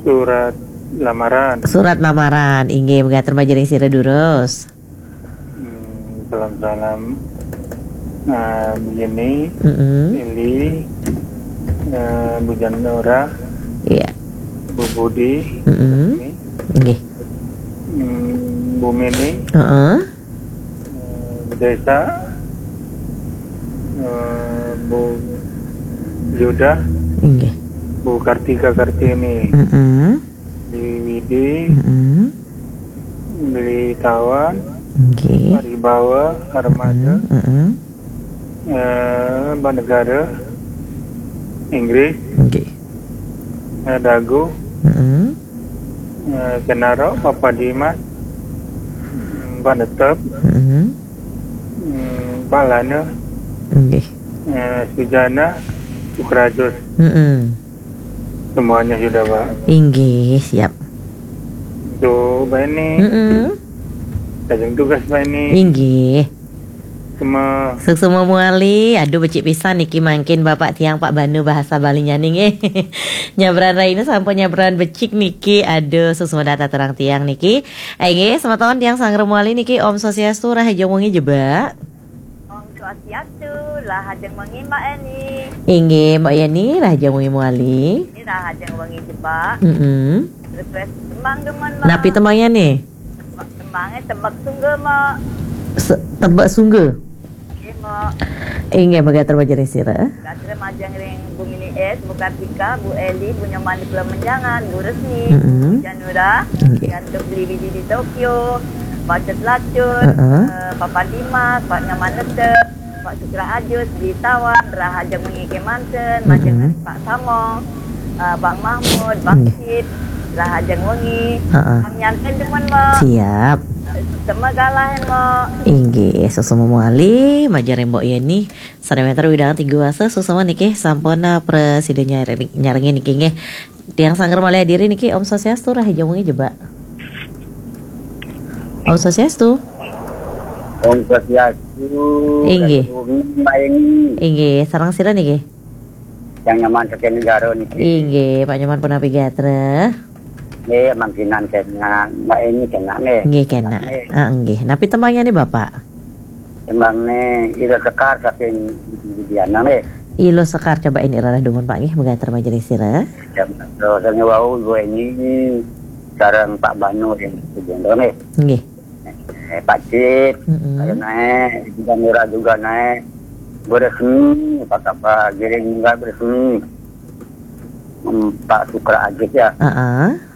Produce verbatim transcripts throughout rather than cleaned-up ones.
Surat lamaran. Surat lamaran. Inggih, megaten majeng ring sira durus. Hmm, salam-salam. Nah, begini, Mm-mm. Eli, eh, Bu Janora, Iya. Bu Budi, Mm-mm. ini, Inggih. Hmm, Bu Mini, Heeh. eh, Bu Desa, eh, Bu Yuda, Inggih. Bu Kartika Kartini, Mm-mm. Beli Widi, Mm-mm. Beli Tawan, Inggih. Pak Ribawa, Armada, Mm-mm. eh, Mbak Negara, Inggris, Inggih. eh, Dagu, Mm-mm. eh, Kenaro, Papa Dimas, Mbak Netep, Mm-mm. mm, Pak Lana, Inggih. eh, Sujana, Sukrajus. Mm-mm. Semuanya sudah, Pak. Inggih, siap. Tuh, Mbak Eni. Mm-mm. Tajam tugas, Mbak Eni. Inggih. Semua. Suksma malih. Aduh, becik pisan niki mangkin Bapak tiang Pak Banu bahasa Balinya nggih. Nyabran raina sampun nyabran becik niki. Aduh, suksma dhateng tiang niki. Inggih, semeton tiang sanggra malih niki. Om Swastiastu, rahajeng wengi jebak. Om Swastiastu, rahajeng wengi Mbak Eni. Inggih, Mbak Yeni, rahajeng wengi malih. Ini rahajeng wengi jebak. Mm-mm. Request tembang demen, Mbak. Napi tembangnya nih? Tembangnya Tebek Sungga, Mbak. Se-, Tebek Sungga? Nggih, Mbak. Inggih, megaten majeng ring sira. Gatra majeng ring Bu Mini S, Bu Kartika, Bu Eli, Bu Nyoman di Pulau Menjangan, Bu Resmi, Mm-mm. Bu Janura, Inggih. Gatra Beli Widi di Tokyo, Pak Cut Lacut, Heeh. eh, Papa Dimas, Pak Nyoman Nete, Pak Sukra Ajus, Beli Tawan, rahajeng wengi kemanten, majeng Mm-mm. Pak Samong, eh, Bang Mahmud, Bang Inggih. Sid, rahajeng wengi. Heeh. Kang nyanten demen, Mbak. Siap. Tema galahin, Mbak. Inggih, suksma malih, majeng ring Mbok Yeni. Sané wénten widang tiga wasa, suksma niki sampun, eh, prasida nyar-, nyarengin niki nggih. Tiang sanggra malih adiri niki, Om Swastiastu, rahajeng wengi jebak. Om Swastiastu. Om Swastiastu. Inggih. Rahajeng wengi, Mbak Eni. Inggih, sareng sira niki? Yang Nyoman saking Negara niki. Inggih, Pak Nyoman punapi gatra? Nggih, mangkinan kénak, Mbak Eni kénak nggih. Nggih, kénak. Nggih. Ah, nggih. Napi tembangnya nih, Bapak? Tembangnya Ilo Sekar saking Widiana nggih. Ilo Sekar, coba ini rarah dumun, Pak, nggih, megaten majeng ring sira. Ya, terus wau Bu Eni sareng Pak Banu yang sejondo nggih. Nggih. Eh, Pak Cip, Mm-mm. Saya naik, juga murah juga naik. Bu Resmi, Pak Kapa, Giring juga Bu Resmi. Hmm, Pak Sukra Ajit ya. Heeh.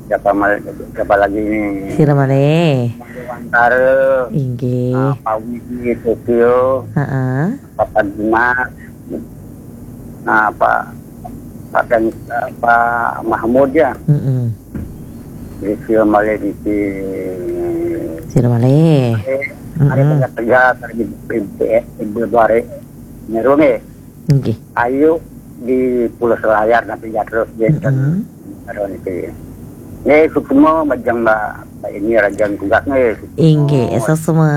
Siapa mal-, siapa lagi ini? Sira malih. Wantara. Inggih. Ah, Pak Widi Tokyo. Heeh. Papa Dimas. Nah, Pak, Pak Ken-, Pak Mahmud ya. Mm-mm. Di sira malih di si-, Sira malih. Eh, ada Mm-mm. tegak-tegak, ada di, di, di, di, di, nyeru nggih. Nggih. Ayo di Pulau Selayar nanti ya terus dia Mm-mm. Baru niki. Nggih, suksma majeng Mbak, Mbak Eni rahajeng tugas nggih. Suksma. Inggih, suksma.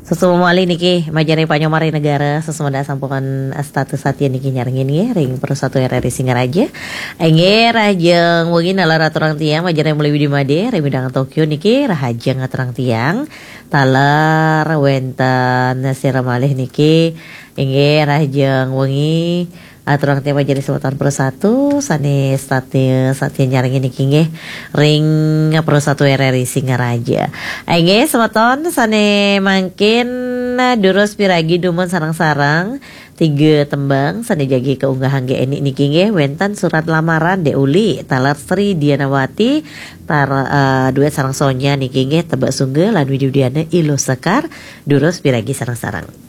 Suksma malih niki majeng ring Pak Nyoman ring Negara, suksma sampun status satya niki nyarengin nggih ring Persatu R R I Singaraja. Inggih, rahajeng wengi nalar aturang tiang majeng ring Muli Widi Made, ring Widang Tokyo niki rahajeng aturang tiang. Taler wénten sira malih niki, inggih rahajeng wengi. Aturang tiang majeng ring semeton Persatu sané satya, satya nyarengin niki nggih ring Persatu R R I Singaraja. Inggih semeton sané mangkin durus piragi dumun sareng-sareng tiga tembang sané jagi kaunggahang nggih enik niki nggih wénten Surat Lamaran Dék Uli, taler Sri Dianawati, tar-, eh, duet sareng Sonya niki nggih Tebak Sungga lan Widi Widiana Ilo Sekar, durus piragi sareng-sareng.